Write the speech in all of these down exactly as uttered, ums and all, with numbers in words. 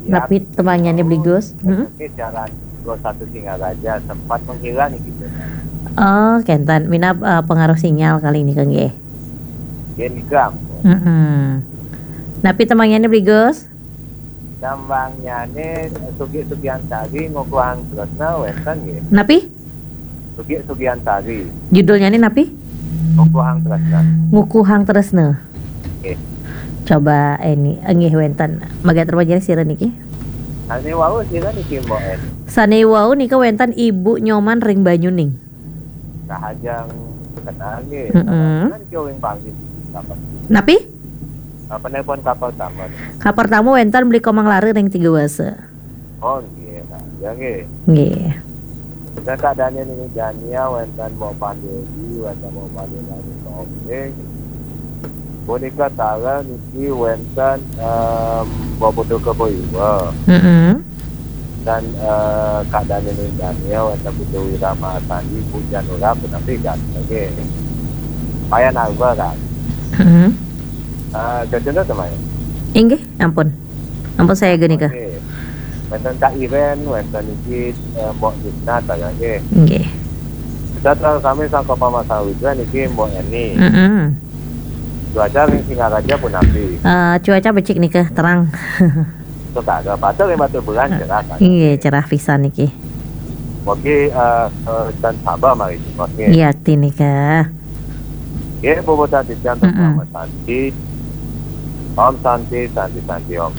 Napi tembangnya ni Beli Gus? Hmm? Oke, jalan dua satu Singaraja sempat menghilang gitu. Oh, kenten. Minab eh, pengaruh sinyal kali ini, Kang, nggih. Nggih, nika ampun. Mm-mm. Napi tembangnya ni Beli Gus? Tembangnya ni Sugi Sugiantari, Ngukuhang Tresna, wenten nggih. Napi? Sugi Sugiantari. Judulnya ni napi? Ngukuhang Tresna. Ngukuhang Tresna. Nggih. Coba ini, nggih, wenten. Maga terpelajar sira niki. Sane wau sira niki, Mbok En. Sane wau nika wenten Ibu Nyoman ring Banyuning. Rahajeng kenal nggih. Mm-mm. Kan ki ring Bali. Napi? Apa nelpon kapal taman? Kapal tamu wenten Beli Komang Lare ring Tiga Wasa. Oh, nggih, Kak. Ya, nggih. Nggih. Dan Kak Daniel ini Dania, wenten Mbok Pandeli, wenten Mbok Pandeli Tombe. Punika taler niki wenten em, Mbok Putu Kebo Iwa. Mm-mm. Dan eh, Kak Daniel ini Dania, wenten Putu Wira Marsandi, Bu Janura, punapi kan. Nggih. Payan Alba kan. Mm-mm. Eh, Jajana teman. Inggih, ampun. Ampun saya gini ke. Oke. Wenten Kak Iren, wenten niki eh, Mbok Yusna, saya nggih. Nggih. Kita terus kami sangka Pama Sawitra niki Mbok Eni. Mm-mm. Cuaca ring Singaraja punapi? Eh, cuaca becik nika, terang. Terus ada pada ring Batu Bulan cerah kan? Iya, cerah pisan niki. Oke, eh, eh, dan sabar mari Jumat nggih. Iya, ti nika. Nggih, Bu Tati Jan, Mm-mm. Selamat Santi. Om Santi, Santi, Santi, Om.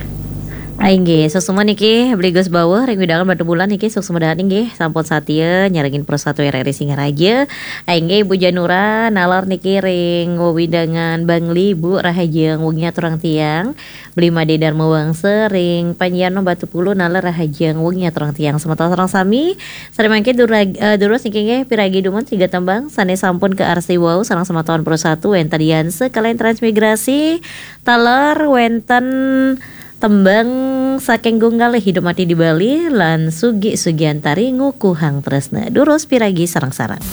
Ai nggih, suksma niki Beli Gus Bawuh ring wewidangan Batu Bulan niki suksma dahat nggih, sampun satia nyarengin Pro satu R R I Singaraja. Ai nggih, Bu Janura naler niki ring wewidangan Bangli, Bu, rahajeng wengi aturang tiang. Beli Made Darma Wangsa ring Panjiano Batu Pulu naler rahajeng wengi aturang tiang semeton sareng sami. Sare mangke durag- eh, durus niki nggih piragi dumun tiga tembang sane sampun kaarsi wau sareng semeton Pro satu wenten Dian sekalian transmigrasi. Taler wenten tembang saking Gunggalih Hidup Mati di Bali lan Sugi Sugiantari Ngukuhang Tresna. Durus piragi sareng-sareng.